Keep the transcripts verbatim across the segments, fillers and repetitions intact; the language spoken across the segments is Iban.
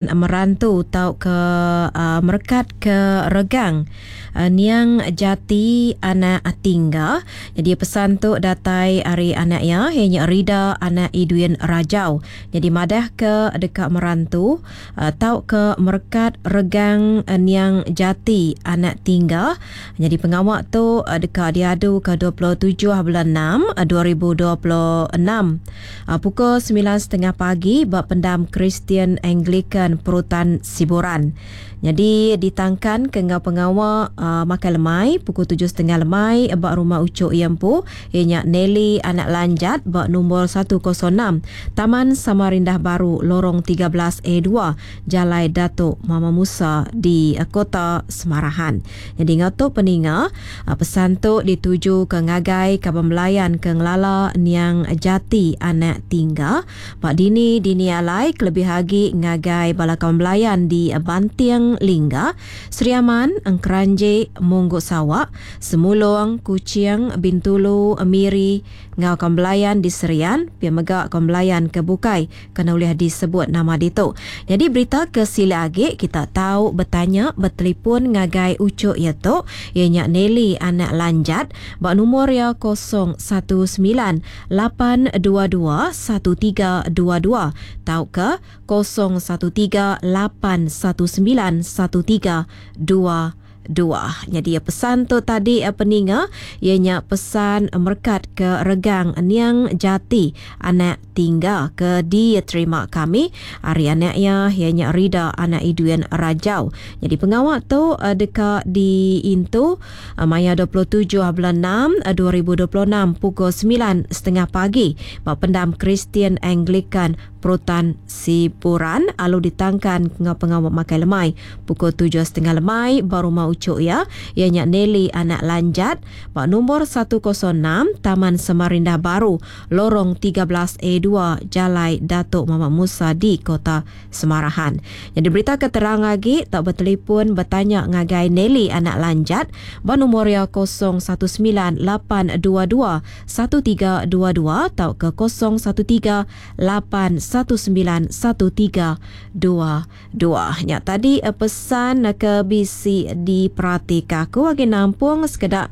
Merantu tauka uh, merekat ke regang uh, niang Jati anak Tingga. Jadi pesan tu datai ari anak iya, ianya Rida anak Idwin Rajau. Jadi madah ke deka merantu uh, tauka merekat regang uh, niang Jati anak Tingga. Jadi pengawa tu uh, deka diadu ke dua puluh tujuh bulan enam dua ribu dua puluh enam uh, pukul sembilan tiga puluh pagi ba pendam Kristian Anglican Perutan Siburan. Jadi ditangkan ke ngau pengawa uh, makan lemai pukul tujuh setengah lemai ba rumah Ucuk Iempu, ianya Nelly anak Lanjat ba nombor satu kosong enam Taman Samarindah Baru Lorong tiga belas A dua Jalai Datuk Mama Musa di uh, Kota Semarahan. Jadi ngau tu peninga uh, pesan tu dituju ke ngagai kaban belayan ke ngelala niang Jati anak Tingga ba dini dini alai kelebih agi ngagai bala kaban belayan di Banting Lingga, Sri Aman, Engkeranji, Munggu Sawak, Semulong, Kuching, Bintulu, Miri, ngau kaban belayan di Serian, pia mega kaban belayan ke bukai kena ulih disebut nama ditu. Jadi berita ke sila agi kita tahu bertanya bertelefon ngagai Ucuk ia tu, ianya Nelly anak Lanjat ba nombor ia kosong satu sembilan lapan dua dua satu tiga dua dua tauka kosong satu tiga lapan satu sembilan satu tiga dua dua. Jadi pesan tu tadi peninga ianya pesan merekat ke regang niang Jati anak Tingga ke diterima kami hari anak ia ianya Rida anak Idwin Rajau. Jadi pengawak tu deka diintu maya dua puluh tujuh bulan enam dua ribu dua puluh enam pukul sembilan setengah pagi ba pendam Kristian Anglican Perutan Siburan alu ditangkan ngau pengawak makai lemai pukul tujuh setengah lemai ba rumah Ucuk ya ianya Nelly anak Lanjat ba nombor satu kosong enam Taman Samarindah Baru Lorong tiga belas A dua Jalai Datuk Muhammad Musa di Kota Semarahan. Jadi berita keterang lagi tak bertelefon bertanya ngagai Nelly anak Lanjat ba nombor ya kosong satu sembilan lapan dua dua satu tiga dua dua atau ke kosong satu tiga lapan satu sembilan satu tiga dua dua. Nya tadi pesan ke bisi diperhatikan aku lagi nampung sekedak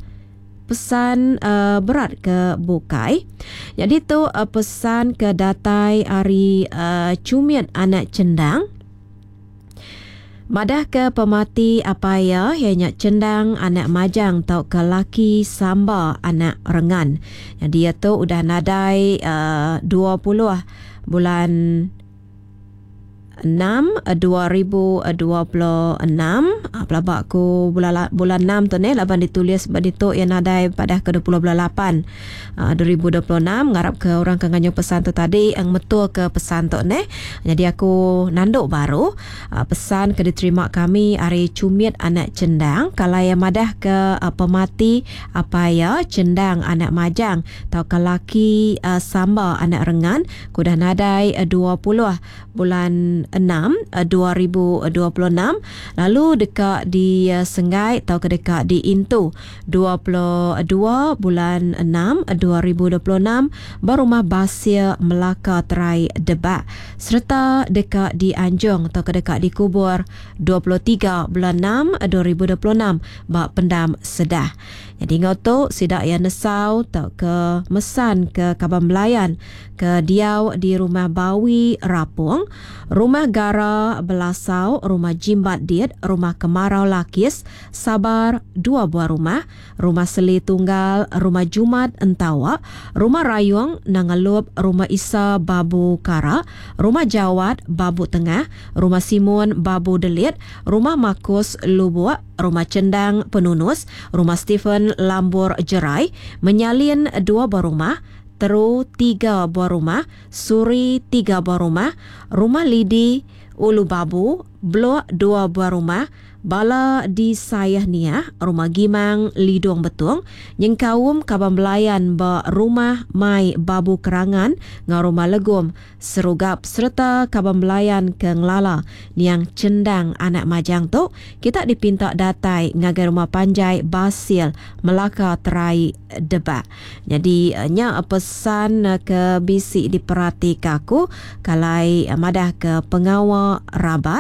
pesan uh, berat ke bukai. Jadi tu uh, pesan ke datai ari uh, Cumit anak Cendang. Madah ke pemati apa ya ianya Cendang anak Majang tau ke laki Samba anak Rengan. Jadi dia tu udah nadai uh, dua puluh bulan enam dua ribu dua puluh enam. Pelabak ku bulan bulan enam tu ni laban ditulis ba ditu yang nadai pada ke dua puluh bulan lapan dua ribu dua puluh enam. Ngarap ke orang ke nganyu pesan tu tadi ang metul ke pesan tu ni. Jadi aku nanduk baru pesan ke diterima kami ari Cumit anak Cendang kalau yang madah ke pemati apa ya Cendang anak Majang atau ke laki Samba anak Rengan kudah nadai dua puluh bulan enam dua ribu dua puluh enam lalu dekat di Senggai atau ke dekat di Intu dua puluh dua bulan enam dua ribu dua puluh enam berumah Basia Melaka Terai Debak serta dekat di Anjung atau ke dekat di Kubur dua puluh tiga bulan enam dua ribu dua puluh enam bak Pendam Sedah. Jadi ngau tu sidak yang nesau atau ke mesan ke Kaban Belayan ke diau di rumah Bawi Rapung, rumah Gara Belasau, rumah Jimbat Diet, rumah Kemarau Lakis, Sabar dua buah rumah, rumah Seli Tunggal, rumah Jumat Entawa, rumah Rayung Nangalup, rumah Isa Babu Kara, rumah Jawat Babu Tengah, rumah Simun Babu Delit, rumah Makus Lubuk, rumah Cendang Penunus, rumah Stephen Lambur Jerai, Menyalin dua buah rumah, Teru tiga buah rumah, Suri tiga buah rumah, rumah Lidi Ulu Babu, Blok dua buah rumah, bala di Saih Niah, Rumah Gimang, Lidong Betong, nyengkaum kaban belayan ba Rumah Mai Babu Kerangan enggau Rumah Legum, Serugap sereta kaban belayan ke ngelala niang Chendang Anak Majang tu, kita dipinta datai ngagai rumah panjai Basil, Melaka Terai, Debak. Nyadi nya pesan ke bisi diperatika aku kalai madah ke pengawa rabat.